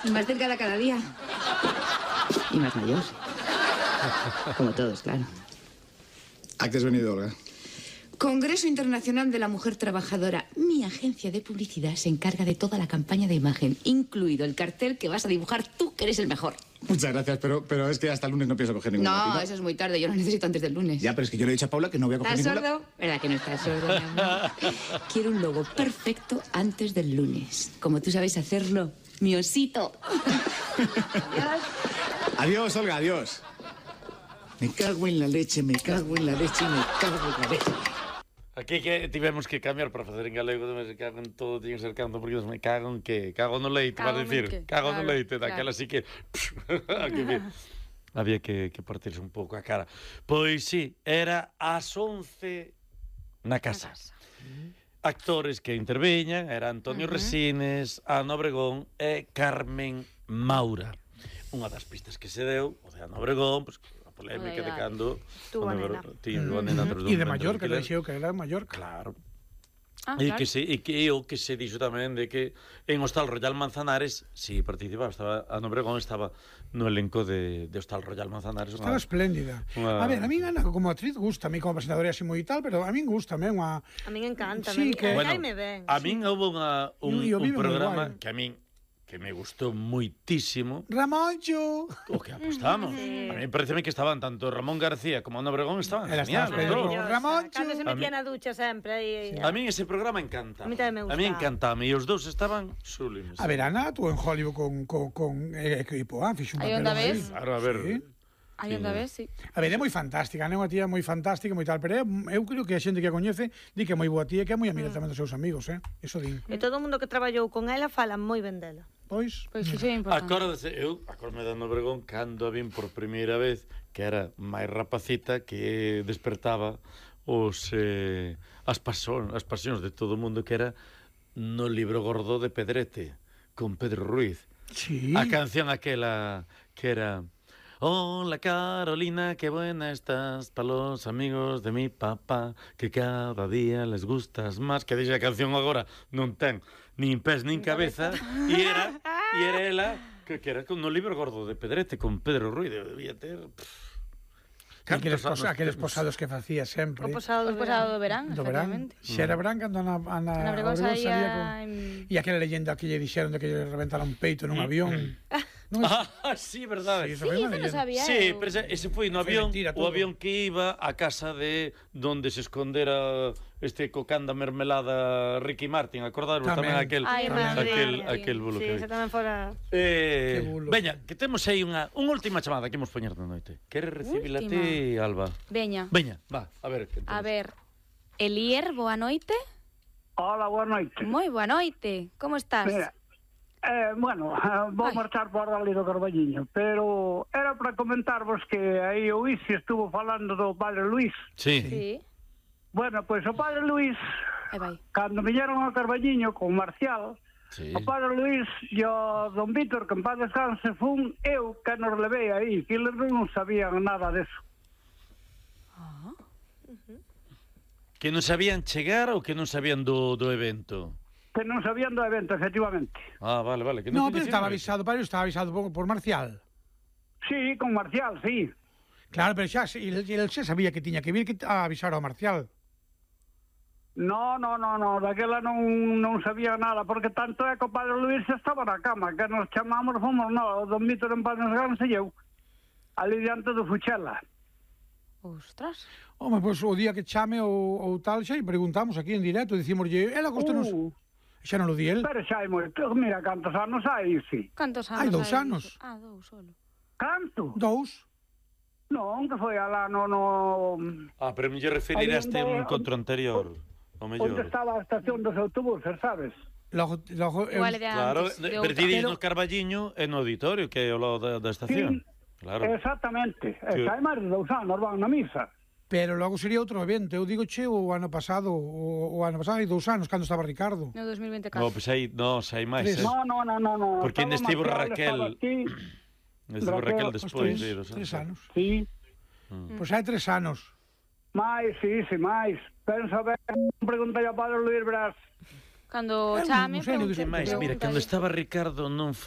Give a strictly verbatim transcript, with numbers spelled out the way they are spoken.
Y más delgada cada día. Y más mayor. Como todos, claro. ¿A qué has venido, Olga? Congreso Internacional de la Mujer Trabajadora. Mi agencia de publicidad se encarga de toda la campaña de imagen, incluido el cartel que vas a dibujar tú, que eres el mejor. Muchas gracias, pero, pero es que hasta el lunes no pienso coger ningún No, lápiz. eso es muy tarde, yo lo necesito antes del lunes. Ya, pero es que yo le he dicho a Paula que no voy a coger ¿Estás ningún lápiz. sordo? ¿Verdad que no estás sordo, mi amor? Quiero un logo perfecto antes del lunes. Como tú sabes hacerlo, mi osito. Adiós. Adiós, Olga, adiós. Me cago en la leche, me cago en la leche, me cago en la leche. Aquí que tivemos que cambiar para facer en galego, me cago en todo, tiño que ser canto, porque me cago en que, cago no leite, para decir, cago no leite, daquela así que, aquí que había que, que partirse un pouco a cara. Pois sí, era ás once na casa. Actores que interveñan, era Antonio uh -huh. Resines, Ana Obregón e Carmen Maura. Unha das pistas que se deu, o de Ana Obregón, pois, polémica de cando tuvo a nena e de Mallorca, que dixeu que era de Mallorca, claro. Ah, e claro. que se e que o que se dixo tamén de que en Hostal Royal Manzanares si participaba, estaba Ana Obregón estaba no elenco de, de Hostal Royal Manzanares. Estaba una, espléndida. Una... A ver, a mí Ana como actriz gusta, a mí como presentadora así moi tal, pero a mí gusta, me unha... A mí encanta, sí, me que... bueno, me ben. A mí sí. Houve unha, un, un programa que a mí que me gustou moitísimo. Ramoncho. O que apostamos. Sí. A mí pareceme que estaban tanto Ramón García como Ana Obregón estaban genial. Ramoncho. Cando se metía na ducha sempre aí. Sí. A mí ese programa encanta. A mí tamén me gusta. A mí encantame e os dous estaban sublimes. A ver, Ana, tú en Hollywood con con con eh, equipo, ah, fixo un papel. Aí onda ves? Claro, a ver. Sí. Aí onda ves, sí. A ver, é moi fantástica, é unha tía moi fantástica, moi tal, pero eu creo que a xente que a coñece di que é moi boa tía e que é moi amiga mm. tamén dos seus amigos, eh? Eso din. E todo o mundo que traballou con ela fala moi ben dela. Pois, pois iso é importante. Acórdase, eu acórdame de Ana Obregón cando a vin por primeira vez, que era máis rapacita, que despertaba os eh, as pasións, as pasións de todo o mundo, que era no Libro Gordo de Pedrete, con Pedro Ruiz. Sí. A canción aquela que era Hola Carolina, qué buena estás para los amigos de mi papá, que cada día les gustas más. Que dixe a canción agora non ten nin pés nin cabeza, e era e era ela que, que era con no Libro Gordo de Pedrete con Pedro Ruiz, debía ter aqueles, posa, aqueles posados que facía sempre. O posado do, posado do verán, do verán. Se era verán cando Ana, Ana, Ana Obregón salía con... en... E aquela leyenda que lle dixeron de que lle reventara un peito nun avión. Non es... Ah, sí, verdade. Sí, sí, eso non sabía. Sí, pero ese, ese foi no avión, mentira, o avión que iba a casa de donde se escondera este cocanda mermelada Ricky Martin, acordaros tamén, tamén aquel Ay, aquel sí. aquel bulo sí, que. Sí, tamén fora. Eh, veña, que temos aí unha unha última chamada que imos poñer na noite. Queres recibila ti, Alba? Veña. Veña, va, a ver. A ver. Elier, boa noite. Hola, boa noite. Moi boa noite. Como estás? Mira, Eh, bueno, vou Ay. marchar por ali do Carballiño, pero era para comentarvos que aí o Isi estuvo falando do Padre Luís. Sí. Sí. Bueno, pois pues, o Padre Luís, cando viñeron ao Carballiño con Marcial, sí. o Padre Luís e o Don Vítor, que en paz descanse, fun eu que nos levei aí, que eles non sabían nada deso. Ah. Uh -huh. Que non sabían chegar ou que non sabían do, do evento? Que non sabían do evento, efectivamente. Ah, vale, vale. Que no, pero estaba avisado, pero estaba avisado por, por Marcial. Sí, con Marcial, sí. Claro, pero xa, el, el xa sabía que tiña que vir que a avisar ao Marcial. No, no, no, no, daquela non, non sabía nada, porque tanto é que o Padre Luís estaba na cama, que nos chamamos, fomos, no, o Don Vítor en paz descanse e eu, ali diante do Fuchela. Ostras. Home, pois pues, o día que chame ou, ou tal, xa e preguntamos aquí en directo, dicimoslle, ela costanos... Uh. Xa non lo di el. Pero xa hai moito, mira, cantos anos hai, sí. Cantos anos hai? Dous hai anos. Ah, dous solo. Canto? Dous. Non, que foi alá no... no... Ah, pero me lle referiraste a un encontro anterior. O mellor. Onde estaba a estación dos autobuses, sabes? Logo, logo, eu... Igual de claro, antes, de pero ti pero... no Carballiño e no auditorio, que é o lado da, da estación. Sí, claro. Exactamente. Sí. Hai máis de dous anos, van na misa. Pero logo sería outro evento. Eu digo che o ano pasado, o, o ano pasado hai dous anos, cando estaba Ricardo. No dos mil vinte e catro. No, pois pues aí, no, hai máis. Eh. No, no, no, no, no. Porque ainda estivo Raquel. Estivo Raquel despois. Tres, de tres anos. Sí. Mm. Pois pues hai tres anos. Mais, sí, sí, máis. Pensa ben, preguntei ao Padre Luís Brás. Cando chame, non sei, non sei máis, mira, cando estaba Ricardo non foi